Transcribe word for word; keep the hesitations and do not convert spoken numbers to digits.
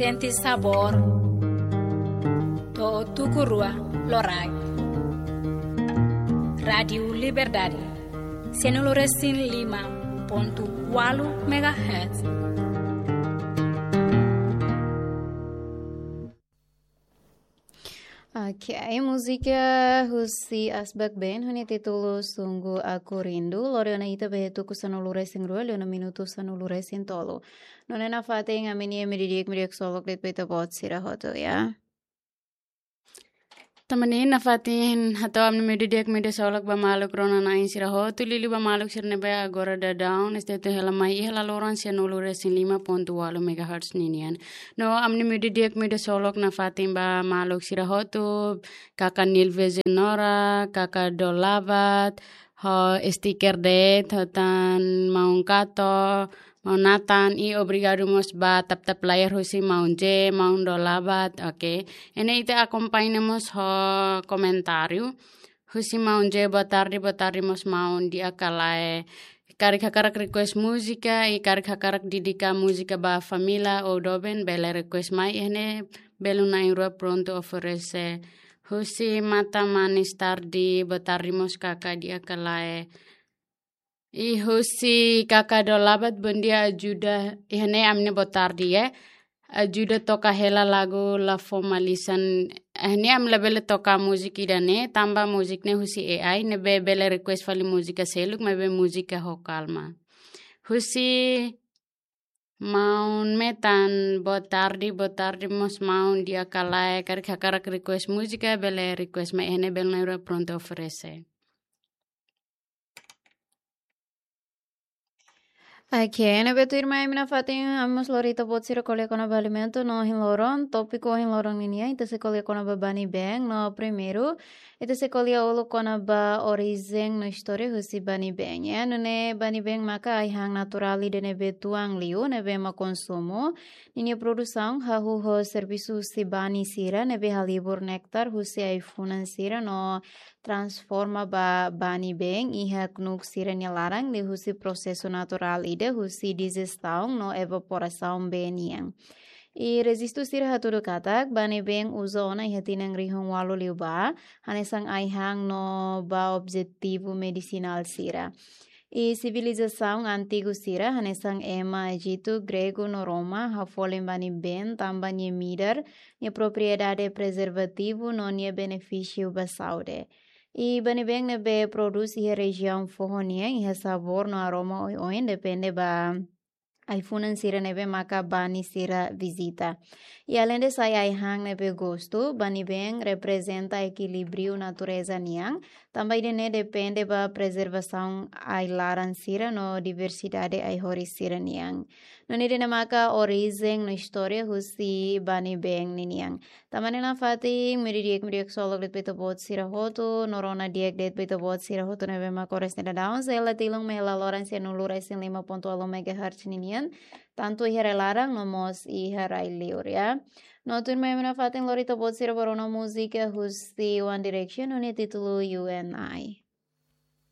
Sente sabór. To'o tuku rua loraik. Rádiu Liberdade. Sianulu-resin-lima pontu ualu megahertz. Ok, múzika husi Asbak Band ho nia títulu Sungguh Aku Rindu, lori ona ita ba iha tuku sanulu-resin-rua, liu ona minutu sanulu-resin-tolu. Nune'e nafatin ami-nia media di'ak, media ksolok de'it ba ita-boot sira hotu, ya. Tanba ne'e nafatin hato'o ami-nia media di'ak, media ksolok ba maluk rona-na'in sira hotu, liuliu ba maluk sira ne'ebé agora daudaun, estatua hela mai iha laloran sianulu-resin-lima pontu ualu megahertz ninian. No ami-nia media di'ak, media ksolok nafatin ba maluk sira hotu, kaka Nilve Zenora, kaka Dolabat, ho stiker de'it, ho tan maun Kato, maun Nathan, i obrigadu mós ba tap-tap layar husi maun J, maun Dolabat, ok. Iha ne'e ita akompaña mós ho komentáriu husi maun J, boa tarde, boa tarde mós maun di'ak ka lae. Karik hakarak request múzika, i karik hakarak dedika múzika ba família ou doben, bele request mai, iha ne'e belun na'in-rua prontu oferese. Husi Mata Manis Tarde, boa tarde mós kaka di'ak ka lae. I husi kaka Dolabat, bom dia, ajuda. Iha ne'e ami-nia boa tarde, ya. Ajuda toka hela lagu La Fomalisan. Iha ne'e ami labele toka múzika ida-ne'e, tanba múzika ne'e husi A I, ne'ebé bele request fali múzika seluk, maibé múzika ho kalma. Husi maun Metan, boa tarde, boa tarde mós maun di'ak ka lae, karik hakarak request múzika, bele request mai, iha ne'e belun na'in-rua prontu oferese. Ok, ne'ebé tuirmai ami nafatin, ami mós lori ita-boot sira ko'alia kona-ba alimentu no ohin loron, tópiku ohin loron ninian, ita sei ko'alia kona-ba Bani Beng, no primeiru, ita sei ko'alia uluk kona-ba orijen no istória husi Bani Beng, ya. Nune'e Bani Beng maka ai-han naturál ida ne'ebé tuan liu, ne'ebé ema konsumu, ninia produsaun hahú ho servisu husi bani sira, ne'ebé halibur néktar husi ai-funan sira no transforma ba Bani Beng iha knuk sira-nia laran liuhusi prosesu naturál ida husi dijestaun no evaporasaun bee nian. I rejistu sira hatudu katak, Bani Beng uza ona iha tinan rihun ualu liubá, hanesan ai-han no ba objetivu medisinál sira. I sivilizasaun antigu sira, hanesan ema Ejitu, Gregu no Roma, hafolin Bani Beng tanba nia midar, nia propriedade prezervativu no nia benefísiu ba saúde. I Bani Beng ne'ebé prodús iha rejiaun foho nian, iha sabór no aroma oioin, depende ba ai-funan sira ne'ebé maka bani sira vizita. I aleinde sai ai-han ne'ebé gostu, Bani Beng reprezenta ekilíbriu natureza nian, tanba ida-ne'e depende ba prezervasaun ai-laran sira no diversidade ai-horis sira nian. Nune'e ida-ne'e maka orijen no istória husi Bani Beng ninian. Tanba ne'e nafatin, media di'ak, media ksolok de'it ba ita-boot sira hotu, no rona di'ak de'it ba ita-boot sira hotu ne'ebé maka oras ne'e daudaun, sei la tilun mai iha laloran sianulu-resin-lima pontu ualu megahertz ninian, tantu iha rai-laran no mós iha rai-liur, ya. No tuirmai ami nafatin lori ita-boot sira ba rona múzika husi One Direction, ho nia títulu You and I.